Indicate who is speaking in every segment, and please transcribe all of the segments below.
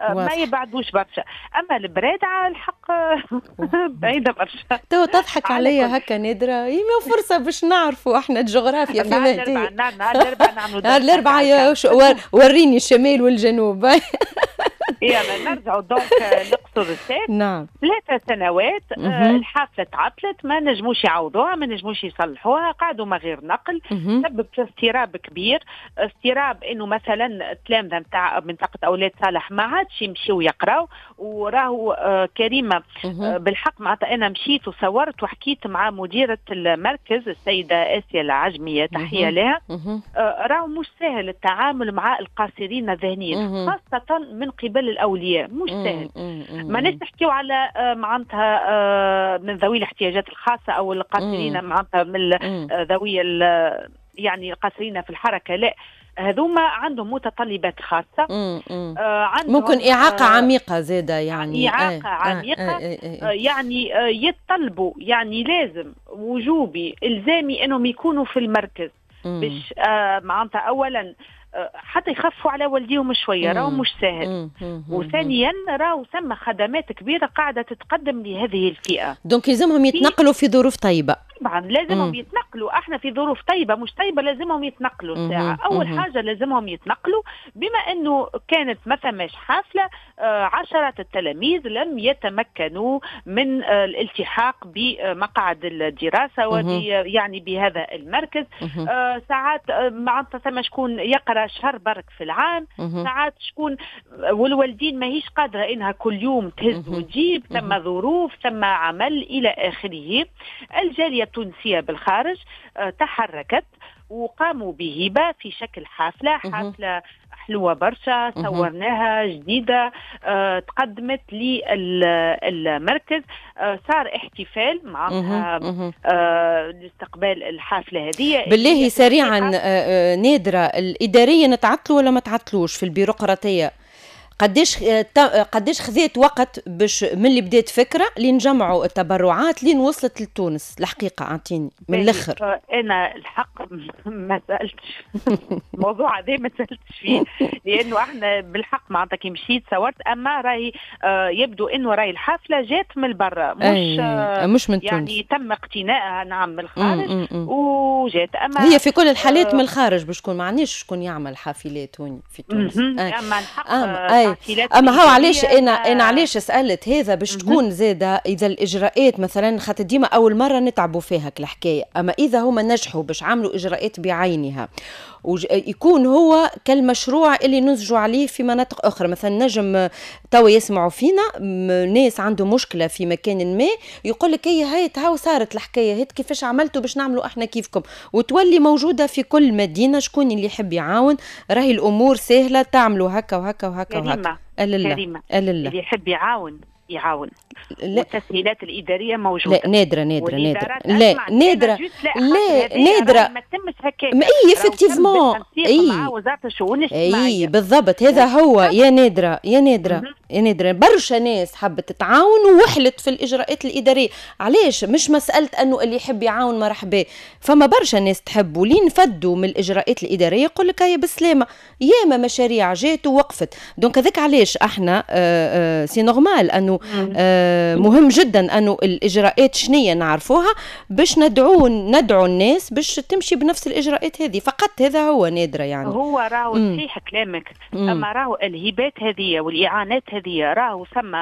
Speaker 1: ما يبعدوش برشا. اما البرادعه الحق بعيدة برشا.
Speaker 2: تو تضحك عليا هكا نادرة، هي فرصة باش نعرفوا احنا الجغرافيا في
Speaker 1: مهدي. نهار الاربعاء نعملوا
Speaker 2: نهار الاربعاء، وريني الشمال والجنوب.
Speaker 1: يلا نرجعوا donc لقصر الساف. 3 سنوات الحافلة تعطلت، ما نجموش يعوضوها، ما نجموش يصلحوها، قعدوا ما غير نقل. سبب في اضطراب كبير، اضطراب انه مثلا التلامذه نتاع منطقة اولاد صالح ما عادش يمشيو يقراو. وراهو كريمه، بالحق معناتها انا مشيت وصورت وحكيت مع مديره المركز السيدة اسيا العجميه، تحية لها. راهو مش سهل التعامل مع القاصرين الذهنيين، خاصة من قبل الاولياء، مش سهل. ما نحكيو على معناتها من ذوي الاحتياجات الخاصة او القاصرين معناتها من ذوي يعني القاصرين في الحركه، لا، هذوما عندهم متطلبات خاصه.
Speaker 2: عندهم ممكن اعاقه عميقة زاده يعني.
Speaker 1: اعاقه عميقه، يعني يتطلبوا، يعني لازم وجوبي الزامي انهم يكونوا في المركز باش معناتها اولا حتى يخفوا على والديهم شويه، راهو مش سهل، وثانيا راهو ثم خدمات كبيرة قاعدة تتقدم لهذه الفئه.
Speaker 2: donc يلزمهم يتنقلوا في ظروف طيبه.
Speaker 1: طبعا لازمهم يتنقلوا. احنا في ظروف طيبة مش طيبه، لازمهم يتنقلوا. ساعة اول حاجة لازمهم يتنقلوا. بما انه كانت ما ثماش حافله، عشرات التلاميذ لم يتمكنوا من الالتحاق بمقعد الدراسة وب يعني بهذا المركز. ساعات معناتها ثم شكون يقرا شهر برك في العام، ساعات شكون والوالدين ماهيش قادرة انها كل يوم تهز وتجيب، ثم ظروف، ثم عمل، الى اخره. الجالية التونسية بالخارج تحركت وقاموا بهبه في شكل حافله، حافلة حلوة برشا صورناها جديده، تقدمت للمركز. صار احتفال معناتها لاستقبال الحافلة هذه.
Speaker 2: بالله سريعا نادره، الادارية تعطلوا ولا ما تعطلوش في البيروقراطيه؟ قديش خذيت وقت باش من اللي بدات فكرة لين جمعوا التبرعات لين وصلت لتونس؟ الحقيقة اعطيني من الاخر.
Speaker 1: انا الحق ما سالتش، الموضوع هذا ما سالتش فيه، لانه احنا بالحق معناتها كي مشيت صورت، اما راهي يبدو انه راهي الحافلة جات من برا، مش
Speaker 2: مش من
Speaker 1: يعني
Speaker 2: تونس.
Speaker 1: تم اقتنائها، نعم، من الخارج وجات، اما
Speaker 2: هي في كل الحالات من الخارج باش تكون، ما عندناش شكون يعمل حافلات هوني في تونس.
Speaker 1: اما الحق
Speaker 2: اما هو علاش انا علاش سالت هذا؟ باش تكون زاده اذا الاجراءات مثلا، خاطر ديما اول مرة نتعبوا فيها الحكايه، اما اذا هما نجحوا باش عملوا اجراءات بعينها يكون هو كالمشروع اللي ننسجوا عليه في مناطق اخرى. مثلا نجم توا يسمعوا فينا ناس عنده مشكلة في مكان ما، يقول لك هي هاي هاو صارت الحكايه، هيت كيفاش عملتوا باش نعملوا احنا كيفكم، وتولي موجودة في كل مدينه. شكون اللي يحب يعاون راهي الامور سهله، تعملوا هكا وهكا وهكا وهكا.
Speaker 1: كريمة، اللي يحب يعاون يعاون. لا، والتسهيلات الادارية موجوده.
Speaker 2: لا نادره، نادرة نادره، لا نادره، لا نادره.
Speaker 1: ما تمش هكاك.
Speaker 2: ما اي effectivement.
Speaker 1: اي مع وزارة الشؤون
Speaker 2: الاجتماعيه. اي بالضبط، هذا هو يا نادره، يا نادرة يا نادره. برشا ناس حبت تتعاون ووحلت في الاجراءات الاداريه. علاش؟ مش مسالة انه اللي يحب يعاون مرحبا، فما برشا ناس تحب ولين فدوا من الاجراءات الاداريه، يقول لك هيا بالسلامه. ياما مشاريع جات ووقفت. donc هذاك علاش احنا c'est normal انه مهم جدا انه الاجراءات شنية نعرفوها باش ندعو الناس باش تمشي بنفس الاجراءات هذه فقط. هذا هو نادرة يعني.
Speaker 1: هو راهو صحيح كلامك، اما راهو الهبات هذه والاعانات هذه راهو ثم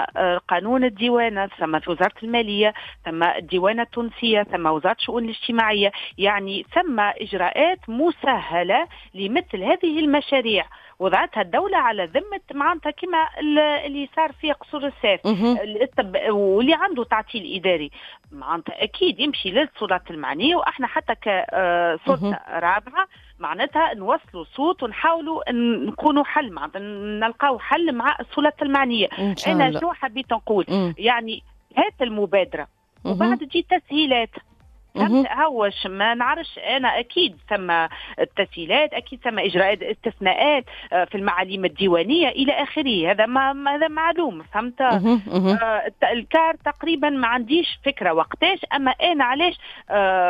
Speaker 1: قانون الديوانه، ثم في وزارة الماليه، ثم الديوانه التونسيه، ثم وزارة الشؤون الاجتماعيه، يعني ثم اجراءات مسهلة لمثل هذه المشاريع وضعتها الدولة على ذمة معناتها كما اللي صار في قصور الساف. واللي عنده تعطيل إداري معناتها أكيد يمشي للسلطات المعنية، وإحنا حتى كسلطة رابعة معناتها نوصلوا صوت ونحاولوا نكونوا حل، معناتها نلقاو حل مع السلطات المعنية. أنا شنو حبيت نقول؟ يعني هات المبادرة وبعد تجي تسهيلات. فهمت؟ هوش ما نعرفش انا، اكيد ثم التسهيلات، اكيد ثم اجراءات، استثناءات في المعاليم الديوانيه الى اخره، هذا ما هذا معلوم، فهمت؟ ال car تقريبا ما عنديش فكرة وقتاش، اما انا علاش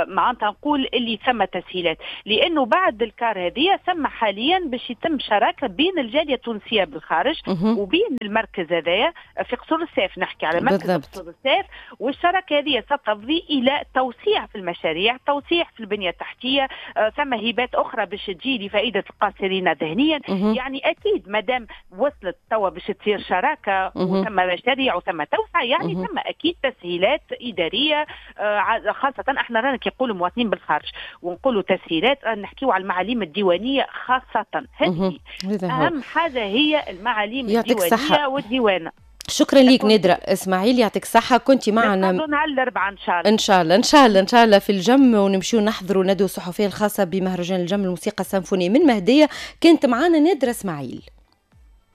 Speaker 1: معناتها نقول اللي ثم تسهيلات؟ لانه بعد ال car هذه ثم حاليا باش يتم شراكة بين الجالية التونسية بالخارج وبين المركز هذايا في قصور الساف، نحكي على مركز قصور الساف، والشراكه هذه ستفضي الى توسيع في المشاريع، توسيع في البنية التحتيه، ثم هبات اخرى باش تجي لفائدة القاصرين ذهنيا. يعني اكيد ما دام وصلت توا باش تصير شراكة وثم مشاريع وثم توسعه، يعني ثم اكيد تسهيلات اداريه، خاصة احنا رانا كي نقولوا مواطنين بالخارج ونقولوا تسهيلات نحكيو على المعاليم الديوانيه خاصه، هذه اهم حاجة هي المعاليم الديوانيه والديوانه.
Speaker 2: شكرا لك نادرة اسماعيل، يعطيك الصحة، كنت معنا.
Speaker 1: نهار الأربعاء ان شاء الله.
Speaker 2: ان شاء الله، ان شاء الله، ان شاء الله في الجم، ونمشيو نحضروا ندوة صحفية الخاصة بمهرجان الجم الموسيقى السيمفونية. من مهدية كانت معنا نادرة اسماعيل.